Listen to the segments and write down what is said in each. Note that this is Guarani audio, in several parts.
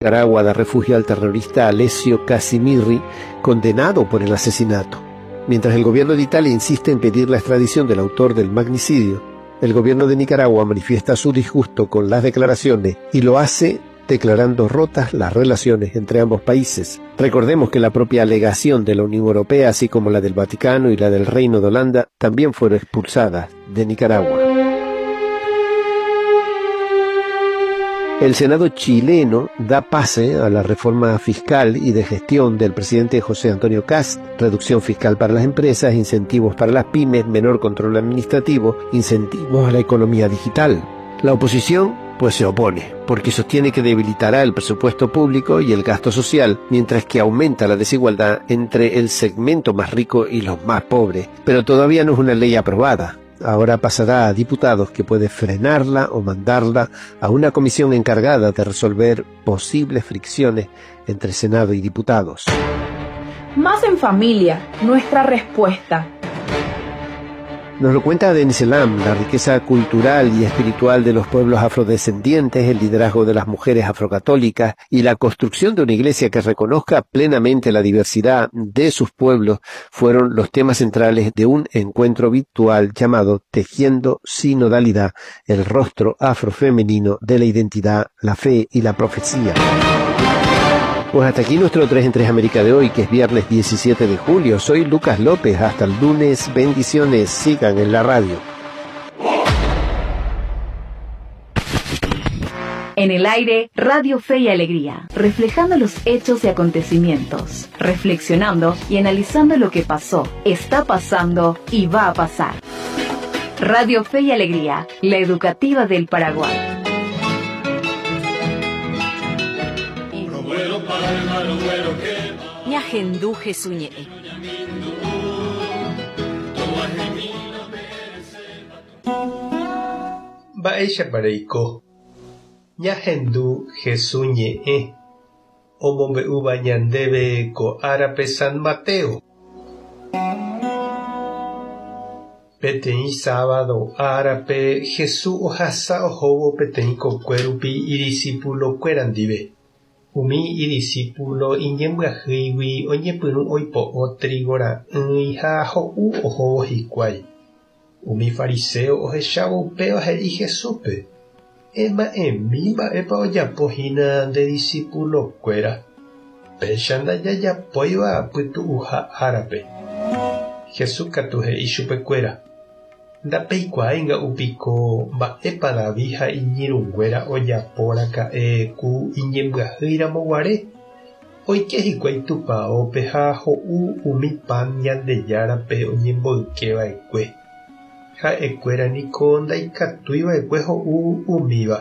Nicaragua da refugio al terrorista Alessio Casimirri, condenado por el asesinato. Mientras el gobierno de Italia insiste en pedir la extradición del autor del magnicidio, el gobierno de Nicaragua manifiesta su disgusto con las declaraciones y lo hace declarando rotas las relaciones entre ambos países. Recordemos que la propia alegación de la Unión Europea, así como la del Vaticano y la del Reino de Holanda, también fueron expulsadas de Nicaragua. El Senado chileno da pase a la reforma fiscal y de gestión del presidente José Antonio Kast, reducción fiscal para las empresas, incentivos para las pymes, menor control administrativo, incentivos a la economía digital. La oposición pues se opone, porque sostiene que debilitará el presupuesto público y el gasto social, mientras que aumenta la desigualdad entre el segmento más rico y los más pobres. Pero todavía no es una ley aprobada. Ahora pasará a diputados que puede frenarla o mandarla a una comisión encargada de resolver posibles fricciones entre Senado y diputados. Más en familia, nuestra respuesta. Nos lo cuenta Denis Elam, la riqueza cultural y espiritual de los pueblos afrodescendientes, el liderazgo de las mujeres afrocatólicas y la construcción de una iglesia que reconozca plenamente la diversidad de sus pueblos fueron los temas centrales de un encuentro virtual llamado Tejiendo Sinodalidad, el rostro afrofemenino de la identidad, la fe y la profecía. Pues hasta aquí nuestro 3 en 3 América de hoy, que es viernes 17 de julio. Soy Lucas López. Hasta el lunes. Bendiciones. Sigan en la radio. En el aire, Radio Fe y Alegría, reflejando los hechos y acontecimientos, reflexionando y analizando lo que pasó, está pasando y va a pasar. Radio Fe y Alegría, la educativa del Paraguay. Ñahendu Jesús ñe'ẽ. Mba'éichapa reiko? Ñahendu Jesús ñe'ẽ omombe'úva ñandéve ko árape San Mateo. Peteĩ sábado árape Jesús ohasa ohóvo peteĩ kokue rupi idisípulo-kuéra ndive. Umi idisípulo iñembyahýigui oñepyrũ oipo'o trígo ra'ỹi ha ho'u ohóvo hikuái. Umi fariséo ohechávo upéva he'i Jesúspe, Ema'ẽmi mba'épa ojapo hína nde disípulo-kuéra, péicha ndajajapóiva pytu'uha árape. Jesús katu he'i chupekuéra, Ndapeikuaái nga'u piko mba'épa David ha iñirũnguéra ojapo raka'e ku iñembyahýi ramo guare? Oike hikuái tupaópe ha ho'u umi pan Ñandejárape oñemboyke va'ekue. Ha'ekuéra niko ndaikatúi va'ekue ho'u umíva,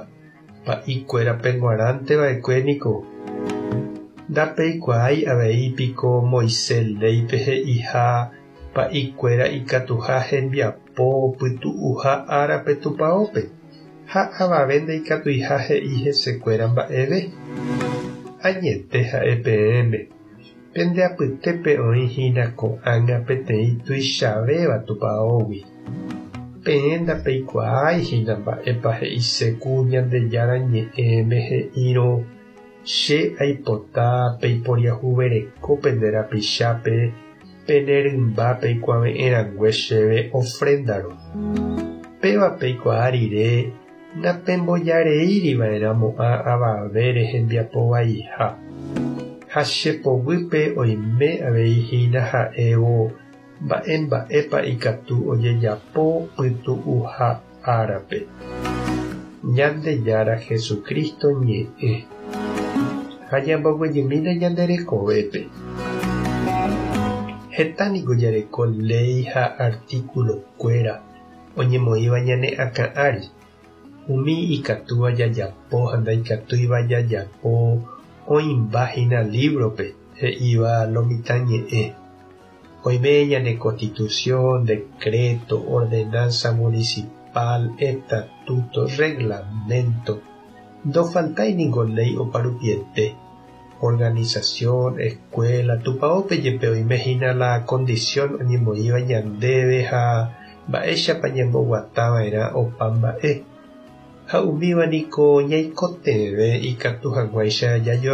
pa'i kuérape g̃uarãnte va'ekue niko. Ndapeikuaái avei piko Moisés léipe he'iha Pa'ikuéra ikatuha hembiapo pytu'uha árape tupaópe, ha avave ndaikatuiha he'i hesekuéra mba'eve. Añete ha'e peẽme, pende apytépe oĩ hína ko'ág̃a peteĩ tuichavéva tupaógui. Peẽ ndapeikuaái hína mba'épa he'ise ku Ñandejára Ñe'ẽme he'írõ, Che aipota peiporiahuvereko pende rapichápe Pene rymba peikuave'ẽ rangue chéve ofréndarõ. Péva peikuaa rire napembojareíri va'erã mo'ã avavére hembiapo vaiha. Ha che poguýpe oime avei hína ha'évo mba'e mba'épa ikatu ojejapo pytu'uha árape. Ñandejára Jesucristo ñe'ẽ. Ha ñamboguejymína ñande rekovépe. Heta niko jareko léi ha artículo-kuéra oñemoĩva ñane akã ári, umi ikatúva jajapo ha ndaikatúiva jajapo oĩmba hína libro-pe he'íva lo mitã ñe'ẽ. Oime ñane Constitución, decreto, ordenanza municipal, estatuto, reglamento, ndofaltái ningo léi oparupiete, organización, escuela, tupaópe jepe oime hína la condición oñemoĩva ñandéve ha mba'éichapa ñamboguata va'erã opa mba'e. Ha umíva niko ñaikotevẽ ikatu hag̃uáicha jajo.